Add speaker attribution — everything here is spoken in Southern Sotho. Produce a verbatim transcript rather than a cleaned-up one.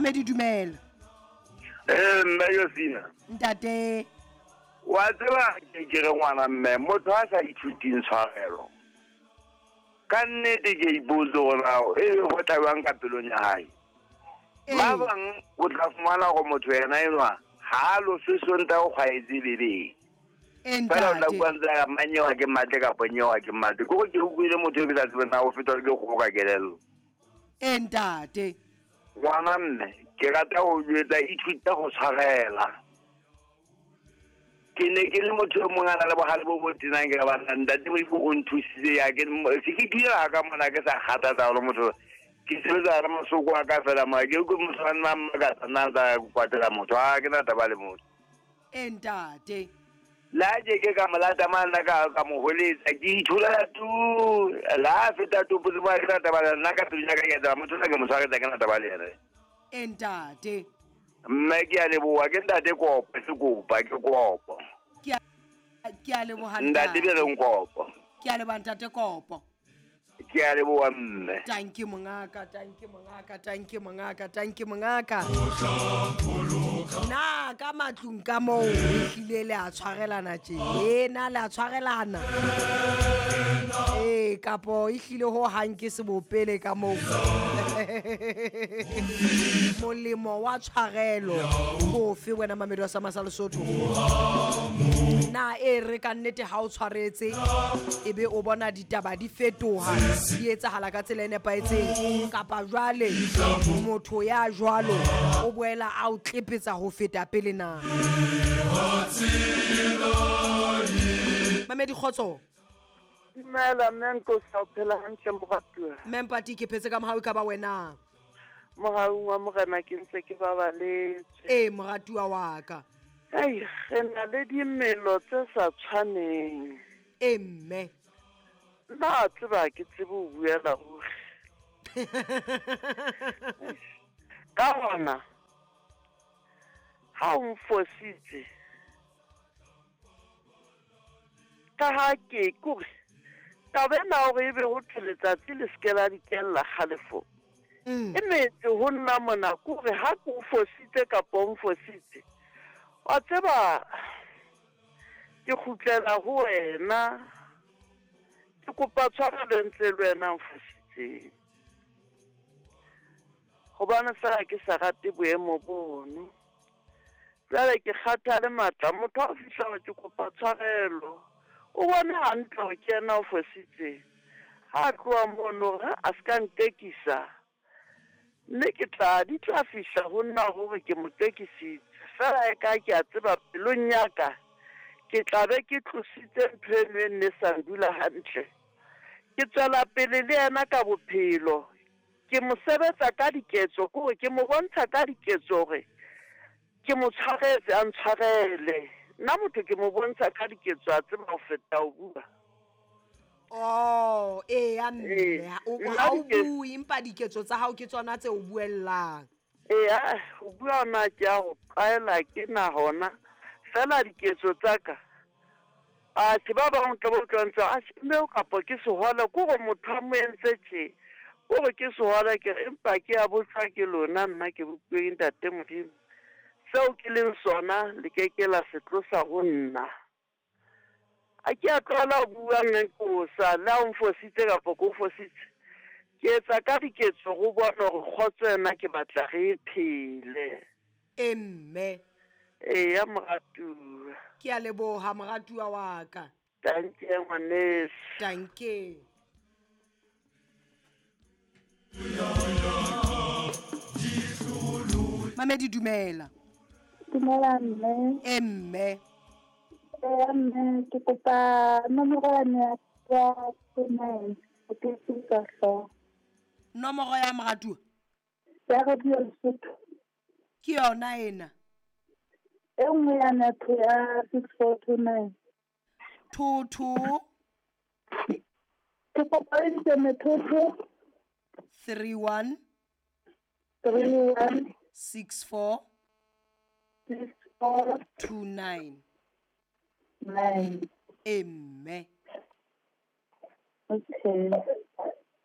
Speaker 1: Mamedi dumela.
Speaker 2: Eh mme Yosina.
Speaker 1: Ntate.
Speaker 2: Wa tseba ke re ngwana mme motho a sa ithuting tshwarelo. Ka nnete ke ipotse gore e go tlabang ka pelong ya hae. Ba bang o tla fumana gore motho yena enwa ha lo se sonta o kgwaetse bebeng. Fela o tla bua ntse a manyewa ke matle kapa nyewa ke matle. Ke gore ke utlwile motho e ke sa tsebeng na o fetwa ke kgomo ka kelello.
Speaker 1: E ntate.
Speaker 2: Ngwana mme ke rata ho jwetsa ithuta ho tshwarela. Ke ne ke le motho e mong a na le bohale bo bo tenang ke ba ntate Modimo o nthusitse ya ke se ke dira ka mona ke sa kgathatsa hore motho ke sebetsa le masoko a ka fela mo ke ke motho a nna mmakatsa nna tsa kwatela motho a ke na taba le motho.
Speaker 1: E ntate.
Speaker 2: La je ke ka molata mana ka ka mo holetsa ke ithola tu la feta tu putse ba ke na taba le nna ka pelo ya ka ke taba motho nna ke mo tshwaretsa ke na taba le yena.
Speaker 1: E ntate.
Speaker 2: Mme ke a leboha ke ntate kopo se kopa ke kopo.
Speaker 1: Ke a ke a leboha
Speaker 2: ntate be reng kopo.
Speaker 1: Ke a leboha ntate kopo.
Speaker 2: Ke a leboha mme.
Speaker 1: Thank you mongaka, thank you mongaka, thank you mongaka, thank you mongaka. Na ka matlung ka moo re hlile le a tshwarelana tje. E na le a tshwarelana. Eh kapo e hlile ho hang ke sebopele ka moo. Molemo wa tshwarelo bofe wena Mamedi wa Sama sa Lesotho. Na e re ka nnete ha o tshwaretse ebe o bona ditaba di fetoha di etsahala ka tsela e nepahetseng kapa jwale motho ya jwalo o boela a o tlepetsa ho feta pele na. Mamedi kgotso.
Speaker 3: Dumela mme Nkosi, o phela hantle moratuwa?
Speaker 1: Mme Mpati ke phetse ka mohau ka ba wena.
Speaker 3: Mohaung wa morena ke ntse ke babaletse.
Speaker 1: Eh moratuwa wa ka.
Speaker 3: Ai re na le dimelo tse sa tshwaneng.
Speaker 1: Eh mme.
Speaker 3: Nna tseba ke tsebe ho buela ruri. Ka hona ha o mfositse ka ha ke kore taba ena hore ebe ho thwe letsatsi le se ke la dikella kgalefo. E metse ho nna mona kore ha ke o fositse kapa o mfositse wa tseba ke kgutlela ho wena ke kopa tshwarelo ntle le wena mfositseng hobane fela ke sa rate boemo bono. Jwale ke kgathale matla motho a fihla hore ke kopa tshwarelo o bone hantle hore ke yena o fositseng. Ha tloha mono hore a se ka ntekisa mme ke tla di tla fihla ho nna hore ke mo tekisitse fela e ka ke a tseba pelong ya ka ke tla be ke tlositse ntho eno e nne sa ndula hantle. Ke tswela pele le yena ka bophelo ke mo sebetsa ka diketso kore ke mo bontsha ka diketso hore ke mo tshwaretse a ntshwarele. Nna motho ke mo bontsha ka diketso a tseba ho feta ho bua.
Speaker 1: Oh eh ya mme ha o bue empa diketso tsa hao ke tsona tse o buellang.
Speaker 3: Eh ho bua na ke a ho qaela ke na hona fela diketso tsa ka. A se ba bang tla bo tlantsa a mme o kapa ke sehwala ke gore motho a mo entse tje gore ke sehwala ke empa ke a botsa ke lona nna ke bopilwe ntate Modimo. Seo ke leng sona le ke ke la se tlosa ho nna. A ke a tlwala ho bua mme Nkosa le ha o mfositse kapa ke o fositse ke etsa ka diketso go bona hore kgotso ena ke batla re e phele.
Speaker 1: E mme.
Speaker 3: Eya moratuwa.
Speaker 1: Ke a leboha moratuwa wa ka.
Speaker 3: Danke ngwaneso.
Speaker 1: Danke. Mamedi dumela.
Speaker 4: Dumela mme.
Speaker 1: E mme.
Speaker 4: Eh mme ke kopa nomoro ya ya nine ke ka hlooho.
Speaker 1: Nomoro ya moratuwa?
Speaker 4: Ya Radio Lesotho.
Speaker 1: Ke yona ena.
Speaker 4: E nngwe ya netho ya six four two nine.
Speaker 1: Two two.
Speaker 4: Ke kopa e ntse two two.
Speaker 1: Three one.
Speaker 4: Three one.
Speaker 1: Six four.
Speaker 4: Six four.
Speaker 1: Two nine.
Speaker 4: Nine.
Speaker 1: E mme.
Speaker 4: Okay.